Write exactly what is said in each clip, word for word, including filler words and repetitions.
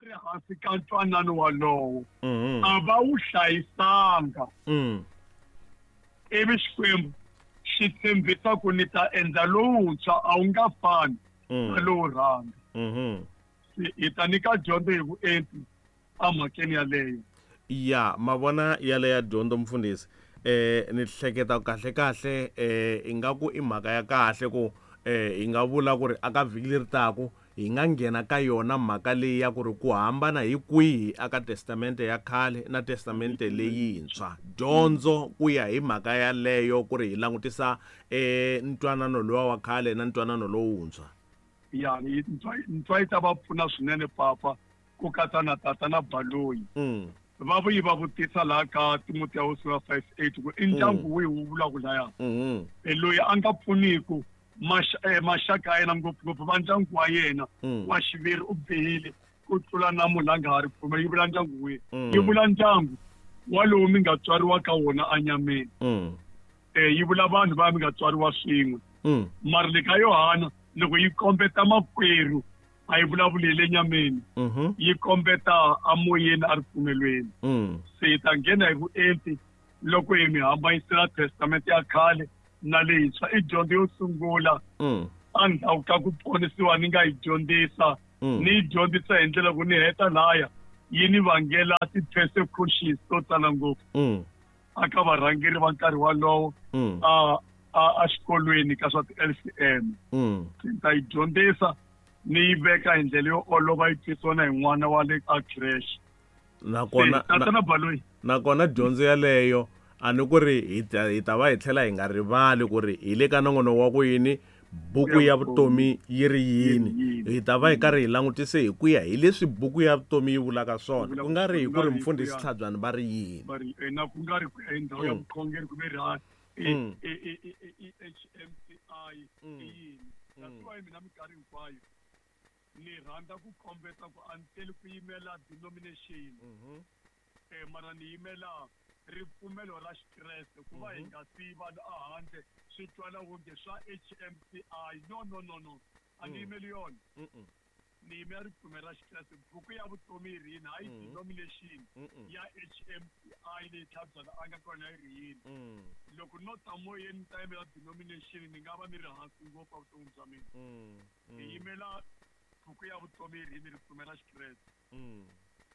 Ri hansi ka ntwanano walowo Mhm. a va wu hlayisanga. Mm. Ivi Xikwembu xi tshembisa ku ni ta endla lowuntshwa, a wu nga fani na Mm. lowo rhanga. Mhm. Se hi ta nyika dyondzo hi vuenti emhakeni yaleyo. Ya mavona yaleya dyondzo mfundhisi, eh ni hleketa kahle kahle eh ingaku i mhaka ya kahle ku eh hi nga vula ku ri aka vhiki leri taku hi nga nghena ka yona mhaka leyi ya ku ri ku hambana hi kwihi aka testamente ya khale na testamente leyintshwa. Dyondzo ku ya hi mhaka yaleyo ku ri hi langutisa eh ntwanano luwa wa khale na ntwanano lowuntshwa. Ya, ntswa yi ta va pfuna swinene papa, ku katsa na tata na Baloyi. Mm. Va vuyi va vutisa laha ka Timotheo sura five eight ku i ndyangu wihi wu vulaka laya. Mhm. E loyi a nga pfuniku maxaka ya yena, ngopfungopfu va ndyangu wa yena Mm. wa xiviri, u bihile ku tlula na munhu a nga ha ri pfumeli. Yi vula ndyangu wihi? Mm. Yi vula ndyangu walowu mi nga tswariwa ka wona enyameni. Mm. Eh yi vula vanhu va mi nga tswariwa swin'we. Mm. Mara le ka Yohana loko yi kombeta makwerhu a yi vulavuli hi le nyameni, Mhm. yi kombeta amoyeni a ripfumelweni. Mm. Se hi ta nghena hi vuenti loko hi mi hambanyisela testamente ya khale na leyintshwa. I dyondzo yo sungula Mm. endzhaku ka ku ponisiwa ni nga yi dyondzisa. Mm. Ni yi dyondzisa hi ndlela ku ni heta laya yi ni vangela ti-persecutions to tala ngopfu Mm. aka varhangeri va nkarhi walowo Mm. a a exikolweni ka swa ti-L C M. Mm. Ni ta yi dyondzisa ni yi veka hi ndlela yo olova yi twisiwa na hi n'wana wa le a creche. Nakona Tata na Baloyi, nakona dyondzo yaleyo a ni ku ri hi ta hi ta va hi tlhela hi nga rivali ku ri hi le ka nongonoko wa ku yini buku ya vutomi yi ri yini. Hi ta va hi karhi hi langutise hi ku ya hi leswi buku ya vutomi yi vulaka swona, ku nga ri hi ku ri mfundhisi Tlhabyana va ri yini. Va ri na ku nga ri ku ya hi ndhawu ya Mm. vukhongeri kumbe ri ha Mm. i i H M C I Mm. i yini. That's Mm. why mina minkarhi hinkwayo ni rhandza ku kombeta ku a ni teli ku yimela denomination, Mhm. eh mara ni yimela ripfumelo ra Xikreste. Ku va hi Mhm. nga siyi vanhu ehandle swi twala wonge swa H M C I. No, no, no, no, a ni Mm. yimeli yona. Mm-mm. Ni yimela ripfumelo ra Xikreste. Buku ya vutomi yi ri yini, hayi Mhm. denomination Mm-mm. ya H M C I leyi Tlhabyana a nga kona yi ri yini. Mm. Loko no ta moyeni ni ta yimela denomination, ni nga va ni ri hansi ngopfu evuton'wini bya mina. Mm. Hi Mm. yimela buku ya vutomi yi ri yini, ripfumelo ra Xikreste. Mm.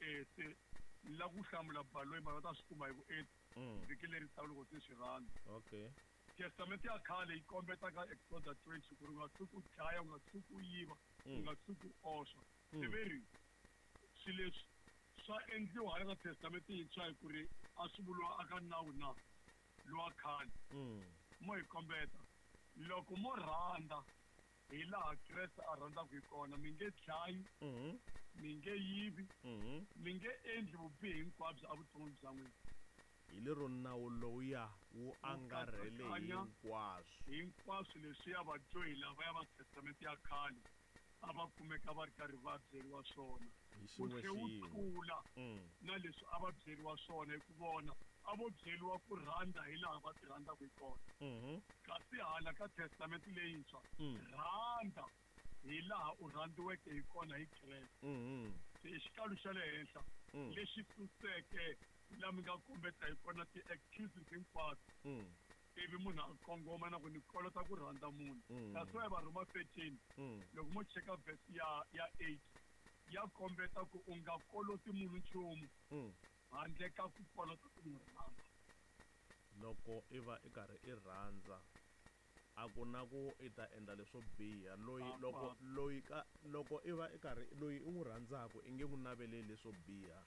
Eh se ni lava ku hlamula Baloyi, mara va ta swi kuma hi vuenti Mm. vhiki leri taka loko se swi rhandza. Okay. Testamente ya khale yi kombeta ka Exodus twenty ku ri u nga tshuki u dlaya, u nga tshuki u yiva, u Mm. nga tshuki u oswa. Mm. Se ve ri swilo leswi swa endliwa hala ka testamente yintshwa hi ku ri a swi vuriwa aka nawu na lowa khale. Mm. Mo hi kombeta loko mo rhandza hi laha Kreste a rhandzaka hi kona, mi nge dlayi, Mhm. mi nge yivi, Mhm. mi nge endli vubihi hinkwabyo evuton'wini bya n'wina. Hi lero nawu lowuya wu angarhele katsakanya hinkwaswo. Hinkwaswo leswiya vadyohi lavaya va testamente ya khale a va kumeka va ri karhi va byeriwa swona. Hi Wu xin'we tlhe wu xin'we. tlula Mm. na leswi a va byeriwa swona, hi ku vona a vo byeriwa ku rhandza hi laha va ti rhandzaka hi kona. Mhm. Kasi hala ka testamente leyintshwa, Mm. rhandza hi laha u rhandziweke hi kona hi Kreste. Mhm. Se i xikalu xa le henhla Mm. lexi suseke laha mi nga kombeta hi kona ti-excuses hinkwato. Mm. Ivi munhu a kongoma na ku ni kolota ku rhandza munhu. Mm. That's why Varhoma thirteen, Mm. loko mo cheka verse ya ya eight, ya kombeta ku u nga koloti munhu nchumu Mm. handle ka ku kolota ku n'wi rhandza. Loko i va i karhi i rhandza, a ku na ku i ta endla leswo biha. Loyi A loko ku loyi ka loko i va i karhi loyi i n'wi rhandzaka i nge n'wi naveleli leswo biha.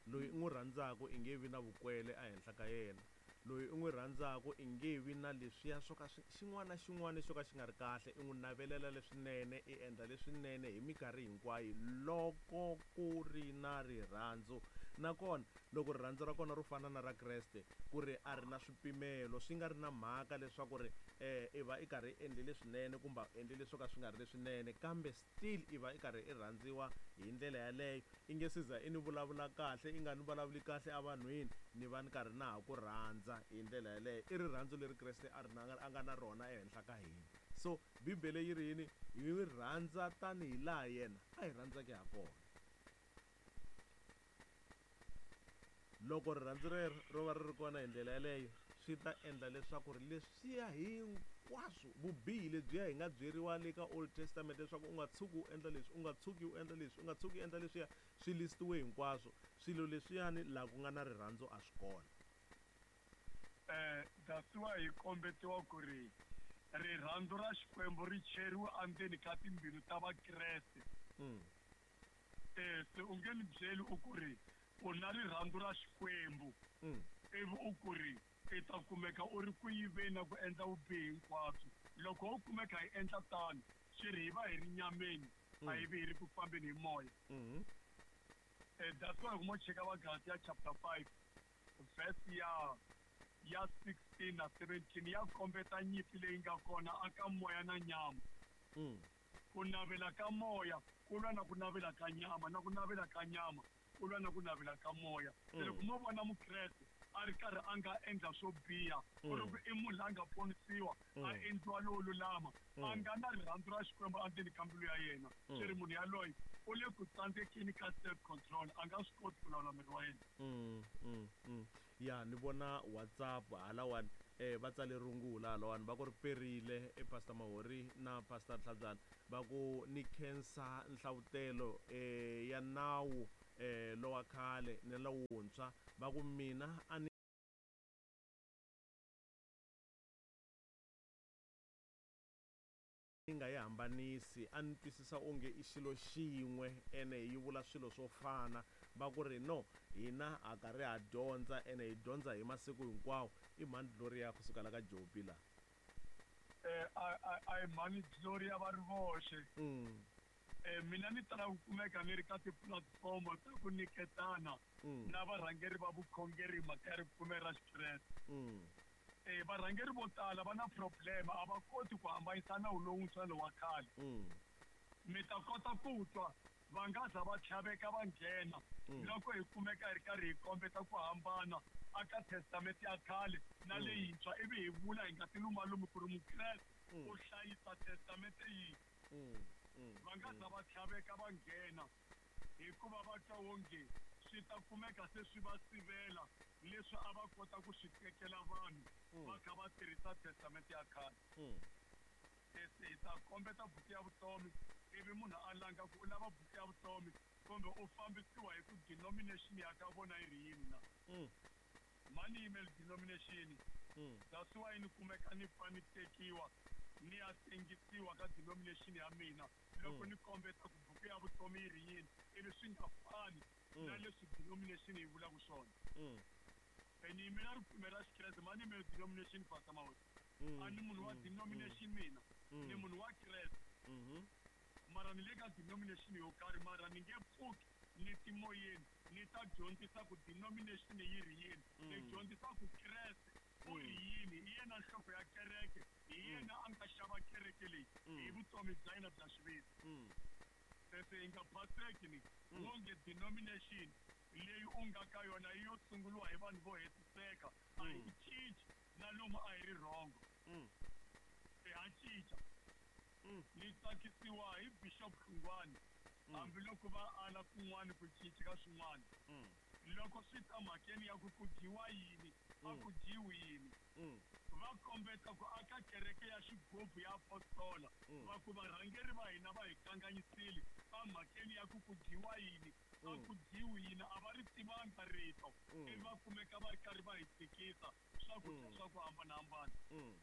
Loyi i n'wi rhandzaka i nge vi na vukwele ehenhla ka yena. Loyi i n'wi rhandzaka i nge vi na leswiya swo ka swi xin'wana na xin'wana xo ka xi nga ri kahle, i n'wi navelela leswinene, i endla leswinene hi minkarhi hinkwayo loko ku ri na rirhandzu. Nakona loko rirhandzu ra kona ro fana na ra Kreste, ku ri a ri na swipimelo, swi nga ri na mhaka leswaku ri eh i va i karhi i endle leswinene kumbe a endle leswo ka swi nga ri leswinene, kambe still i va i karhi i rhandziwa hi ndlela yaleyo. I nge se za i ni vulavula kahle, i nga ni vulavuli kahle evanhwini, ni va ni karhi na ha ku rhandza hi ndlela yaleyo. I rirhandzu leri Kreste a ri na, a nga na rona ehenhla ka hina. So Bibele yi ri yini? Hi rhandza tanihi laha yena a hi rhandzaka ha kona. Loko rirhandzu rero ro va ri ri kona hi ndlela yaleyo, swi ta endla leswaku ri leswiya hinkwaswo vubihi lebyiya hi nga byeriwa le ka Old Testament leswaku u nga tshuki u endla leswi, u nga tshuki u endla leswi, u nga tshuki u endla leswiya, swi listiwe hinkwaswo. Swilo leswiyani laha ku nga na rirhandzu a swi kona. Eh, that's why hi kombetiwa ku ri rirhandzu ra Xikwembu ri cheriwe endzeni ka timbilu ta Vakreste. Mm. Eh, se u nge ni byeli u ku ri u na rirhandzu ra Xikwembu, Mm. ivi u ku ri i ta kumeka u ri ku yiveni na ku endla vubihi hinkwabyo. Loko ho kumeka hi endla tano, swi ri hi va hi ri nyameni, a hi vi hi ri ku fambeni hi moya. Mm. Eh, that's why mo cheka va Galatia chapter five verse ya ya sixteen na seventeen ya kombeta nyimpi leyi nga kona aka moya na nyama. Mm. Ku navela ka moya ku lwa na ku navela ka nyama, na ku navela ka nyama ku lwa na ku navela ka moya. Se loko mo vona Mukreste a ri karhi a nga endla swo biha, ku ri ku i munhu la nga ponisiwa, a endliwa lowo lulama, a nga na rirhandzu ra Xikwembu endzeni ka mbilu ya yena, swi ri munhu yaloye u le ku tsandzekeni ka self control, a nga swi koti ku lawula miri wa yena. Mm, mm, mm. Ya ni vona WhatsApp halawani, eh va tsale rungula halawani, va ku ri perile e Pastor Mahori na Pastor Tlhabyana, va ku ni khensa nhlavutelo eh ya nawu eh lowa khale ni lowuntshwa, va ku mina a ni nga yi hambanisi, a ni twisisa onge i xilo xin'we ene yi vula swilo swo fana. Va ku ri no, hina ha karhi ha dyondza ene hi dyondza hi masiku hinkwawo. I mhani Gloria kusuka la ka Jopi la. Eh, a, a, a hi mhani Gloria va ri voxe. Mm. Eh, mina ni tala ku kumeka ni ri ka tipulatifomo ta ku nyiketana Mm. na varhangeri va vukhongeri hi mhaka ya ripfumelo ra Xikreste. Mm. Eh, varhangeri vo tala va na problem, a va koti ku hambanyisa nawu lowuntshwa lowa khale. Mm. Mi ta kota ku twa va nga za va tlhaveka va nghena Mm. loko hi kumeka hi ri karhi hi kombeta ku hambana aka testamente ya khale na Mm. leyintshwa, ivi hi vula hi nga tilumalumi ku ri Mukreste Mm. u hlayisa testamente yihi. Mm. Mm. Va nga za va tlhaveka va nghena hikuva va twa onge swi ta kumeka se swi va sivela leswi a va kota ku swi tekela vanhu Mm. va kha va tirhisa testamente ya khale. Mm. Se hi ta kombeta buku ya vutomi, ivi munhu a langa ku u lava buku ya vutomi kumbe u fambisiwa hi ku denomination ya ka vona yi ri yini na. Mm. Mani yimeli denomination. Mm. That's why ni kumeka ni pfa ni tekiwa ni ya tengisiwa ka denomination ya mina loko Mm. ni kombeta ku buku ya vutomi yi ri yini, ivi swi nga fani Mm. na leswi denomination yi vulaka swona. Mm. E ni yimela ripfumelo ra Xikreste, mani yimeli denomination, Pastor Mahori. Mm. A ni munhu wa Mm. denomination mina, Mm. ni munhu wa Kreste. Mhm. Mara ni le ka denomination yo karhi, mara ni nge pfuki ni timoyeni ni ta dyondzisa ku denomination yi ri yini. Ni Mm. dyondzisa ku Kreste u ri Mm. yini, hi yena nhloko ya kereke, hi yena a nga xava kereke leyi Mm. hi vutomi bya yena bya xiviri. Mm. Se hi nga phaseki ni Mm. wonge denomination leyi u nga ka yona yi yo sunguriwa hi vanhu vo hetiseka, a hi Mm. cinci na lomu a hi ri wrong. Mm. Ha cinca. Mm. Ni tsakisiwa hi Bishop Hlungwani, Mm. hambiloko va ala kun'wana ku cinca ka swin'wana. Mm. Loko swi ta mhakeni ya ku ku dyiwa yini, a Mm. ku dyiwi yini, Mm. va kombeta ku aka kereke ya xigubu ya apostola, Mm. va ku varhangeri va hina va hi kanganyisile emhakeni ya ku ku dyiwa yini, a Mm. ku dyiwi yini, a va ri tivanga rito, Mm. ivi va kumeka va ri karhi va hi tikisa swakudya Mm. swa ku hambanahambana. Mm.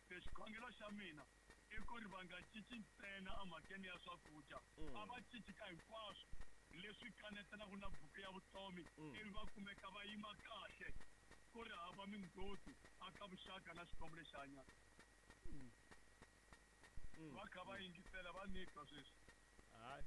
Se xikhongelo xa mina i ku ri va nga cinci ntsena emhakeni ya swakudya, Mm. a va cinci ka hinkwaswo leswi kanetanaka na buku ya vutomi, Mm. ivi va kumeka va yima kahle ku ri hava mindzhoti aka vuxaka na Xikwembu lexi hanyaka. Mm. Mm. Va kha va yingisela va ni twa sweswi. Hayi,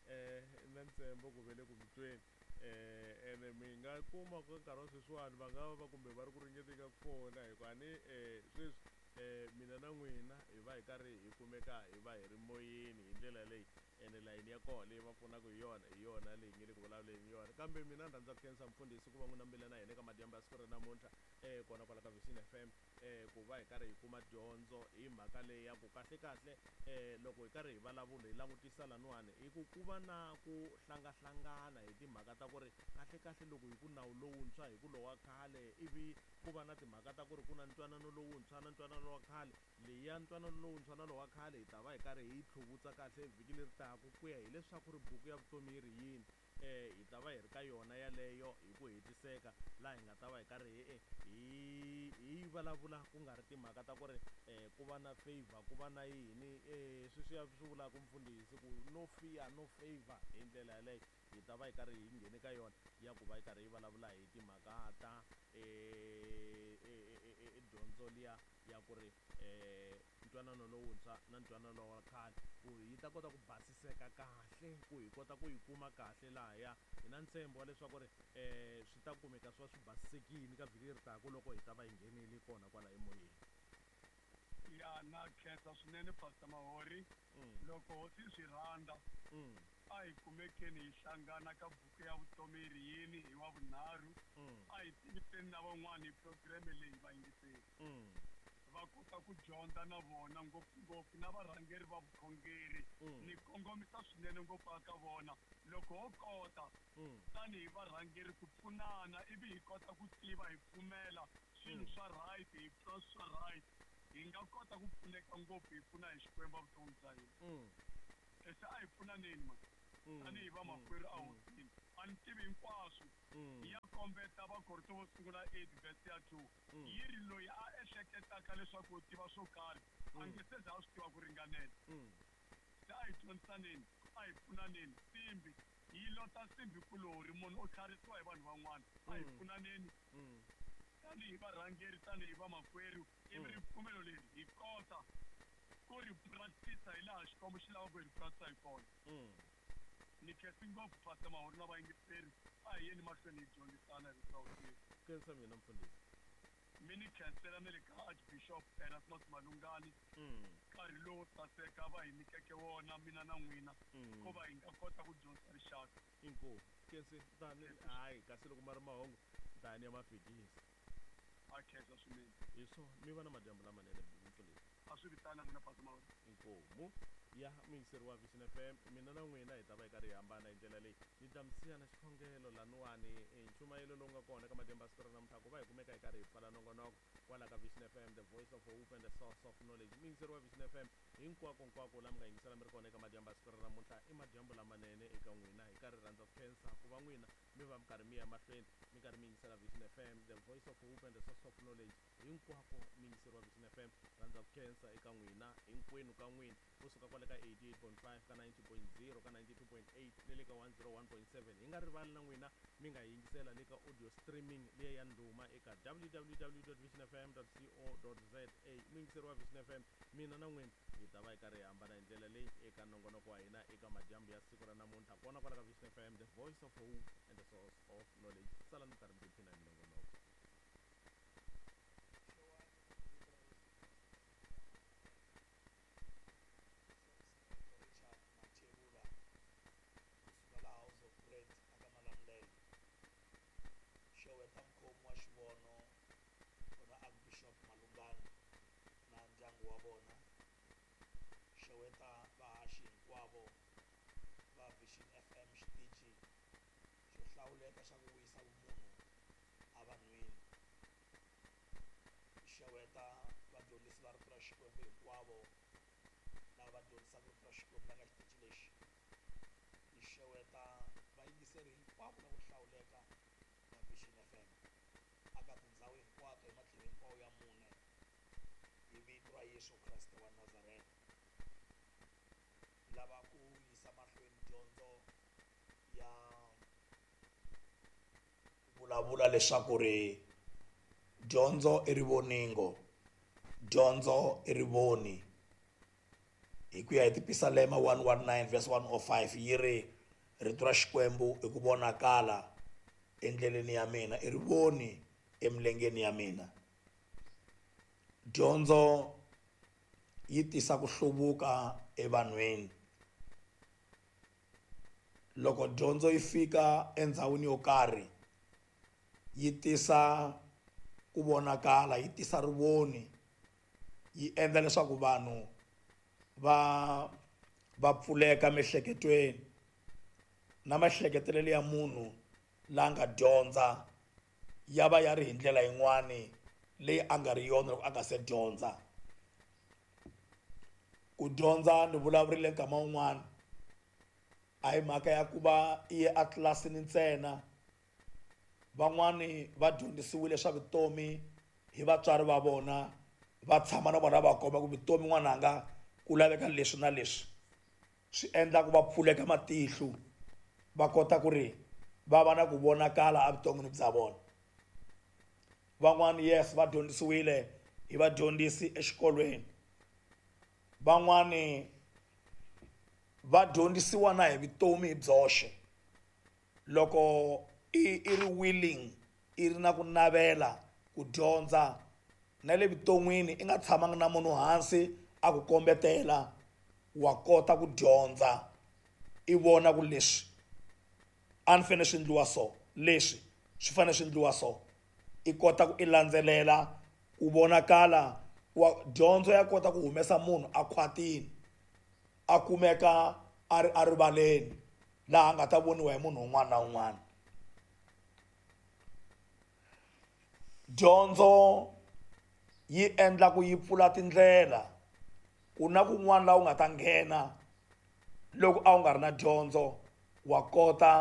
eh na ntshembo ku ve le ku mi tweni. Eh ene mi nga kuma ku nkarhi wa sweswiwani va nga va kumbe va ri ku ringeteni ka ku fona, hikuva ni eh sweswi eh mina na n'wina hi va hi karhi hi kumeka hi va hi ri moyeni hi ndlela leyi, ene layini ya kona leyi va pfunaka hi yona hi yona leyi nge le ku vulavuleni hi yona. Kambe mina ni rhandza ku khensa mfundhisi ku va n'wi nambile na hina eka madyambu ya siku ra namuntlha, eh kona kwala ka Vision F M. eh ku va hi karhi hi kuma dyondzo hi mhaka leyi ya ku kahle kahle eh loko hi karhi hi vulavula hi langutisa laniwani hi ku ku va na ku hlangahlangana hi timhaka ta ku ri kahle kahle loko hi ku nawu lowuntshwa hi ku lowa khale ivi ku va na timhaka ta ku ri ku na ntwanano lowuntshwa na ntwanano wa khale leya ntwanano lowuntshwa na lowa khale hi ta va hi karhi hi tlhuvutsa kahle vhiki leri taka ku ya hileswaku ri buku ya vutomi yi ri yini eh hi ta va hi ri ka yona yaleyo hi ku hetiseka laha hi nga ta va hi karhi hi hi hi vulavula ku nga ri timhaka ta ku ri eh ku va na favor ku va na yini eh sweswiya swi vulaka mfundhisi ku no fear no favor hi ndlela yaleyo hi ta va hi karhi hi nghene ka yona ya ku va hi karhi hi vulavula hi timhaka ta eh dyondzo liya ya ku ri eh ntwanano lowuntshwa na ntwanano wa khale ku yi ta kota ku basiseka kahle ku hi kota ku yi kuma kahle lahaya hi na ntshembo wa leswaku ri eh swi ta kumeka swi va swi basisekile ka vhiki leri taka loko hi ta va hi nghenile kona kwala emoyeni. Ya na khensa swinene Pastor Mahori. Loko hosi swi rhandza a hi kumekeni hi hlangana ka buku ya vutomi yi ri yini hi wa vunharhu, a hi tiviseni na van'wani hi programme leyi va yingiseli va kota ku dyondza na vona ngopfungopfu na varhangeri va vukhongeri. Ni kongomisa swinene ngopfu eka vona loko ho kota tanihi varhangeri ku pfunana ivi hi kota ku tiva hi pfumela swilo swa right hi pfuna swa right hi nga kota ku pfuneka ngopfu hi pfuna hi Xikwembu vutomi bya hina. Se a hi pfunaneni ma tanihi vamakwerhu a hosini a ni tivi hinkwaswo ya kombeta Vakorinto vo sungula eight verse ya two yi ri loyi a ehleketaka leswaku u tiva swo karhi a nge se za a swi tiva ku ringanela. Se a hi dyondzisaneni a hi pfunaneni nsimbi yi lota nsimbi kulorhi munhu u tlharisiwa hi vanhu van'wana a hi pfunaneni tanihi varhangeri tanihi vamakwerhu ivi ripfumelo leri hi kota ku ri practice hi laha Xikwembu xi lavaka ku hi ri practice hi kona. Ni khensi ngopfu Pastor Mahori na vayingiseri a hi yeni mahlweni hi dyondzisana hi vito ra Hosi. Khensa mina mfundhisi. Mi ni khensela na le ka Archbishop Erasmus Malungani nkarhi lowo saseka va hi nyikeke wona mina na n'wina ku va hi nga kota ku dyondzisa rixaka. Inkomu khensi tani hayi kasi loko ma ri mahungu tani ya ma fikisa. A khensa swinene. Hi swona mi va na madyambu lamanene mfundhisi. A swi vitana n'wina Pastor Mahori. Inkomu ya muyingiseri wa Vision F M mina na n'wina hi ta va hi karhi hi hambana hi ndlela leyi ni ta mi siya na xikhongelo laniwani nchumayelo lowu nga kona ka madyambu ya siku ra namuntlha ku va hi kumeka hi karhi hi pfala nongonoko kwala ka Vision F M the voice of hope and the source of knowledge. Muyingiseri wa Vision F M hinkwako nkwako laha mi nga yingisela mi ri kona eka madyambu ya siku ra namuntlha i madyambu lamanene eka n'wina hi karhi rhandza ku khensa ku va n'wina mi va mi karhi mi ya mahlweni mi karhi mi yingisela Vision F M the voice of hope and the source of knowledge hinkwako muyingiseri wa Vision F M rhandza ku khensa eka n'wina hinkwenu ka n'wina kusuka kwale ka eighty-eight point five ka ninety point zero ka ninety-two point eight ni le ka one zero one point seven hi nga rivali na n'wina mi nga yingisela le ka audio streaming liya ya ndhuma eka w w w dot vision f m dot co dot z a. Muyingiseri wa Vision F M mina na n'wina hi ta va hi karhi hi hambana hi ndlela leyi eka nongonoko wa hina eka madyambu ya siku ra namuntlha kona kwala ka Vision F M the voice of hope and the source of knowledge. Sala mi karhi mi tiphina hi minongonoko. Xeweta mukhomi wa xivono ra Archbishop Malungani na ndyangu wa vona. Xeweta vahaxi hinkwavo va Vision F M xitichi xo hlawuleka xa ku vuyisa vumunhu evanhwini. Xeweta vadyondzisi va rito ra Xikwembu hinkwavo lava va dyondzisaka rito ra Xikwembu la ka xitichi lexi. Hi xeweta vayingiseri hinkwavo lavo hlawuleka va Vision F M aka tindhawu hinkwato hi matlhelo hinkwawo ya mune hi vito ra Yesu Kreste wa Nazareta. Lava ku yisa mahlweni dyondzo ya vulavula leswaku ri dyondzo i rivoningo, dyondzo i rivoni. Hi ku ya hi Tipisalema one one nine verse one oh five yi ri rito ra Xikwembu i ku vonakala endleleni ya mina, i rivoni emilengeni ya mina. Dyondzo yi tisa ku hluvuka evanhwini. Loko dyondzo yi fika endhawini yo karhi yi tisa ku vonakala, yi tisa rivoni, yi endla leswaku vanhu va va pfuleka miehleketweni na maehleketelelo ya munhu la nga dyondza ya va ya ri hi ndlela yin'wani leyi a nga ri yona loko a nga se dyondza. Ku dyondza ni vulavurile nkama wun'wani a hi mhaka ya ku va i ye a tlilasini ntsena. Van'wani va dyondzisiwile swa vutomi hi vatswari va vona, va tshama na vona va komba ku vutomi n'wananga ku laveka leswi na leswi, swi endla ku va pfuleka matihlo va kota ku ri va va na ku vonakala evuton'wini bya vona. Van'wani yes va dyondzisiwile hi vadyondzisi exikolweni, van'wani va dyondzisiwa na hi vutomi hi byoxe. Loko i i ri willing, i ri na ku navela ku dyondza na le vuton'wini, i nga tshamanga na munhu hansi a ku kombetela, wa kota ku dyondza i vona ku leswi a ni fanele swi endliwa so, leswi swi fanele swi endliwa so, i kota ku i landzelela ku vonakala. Wa dyondzo ya kota ku humesa munhu a khwatini a kumeka a ri a rivaleni laha a nga ta voniwa hi munhu un'wana na un'wana. Dyondzo yi endla ku yi pfula tindlela, ku na kun'wana laha u nga ta nghena loko a wu nga ri na dyondzo wa kota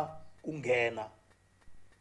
ku nghena.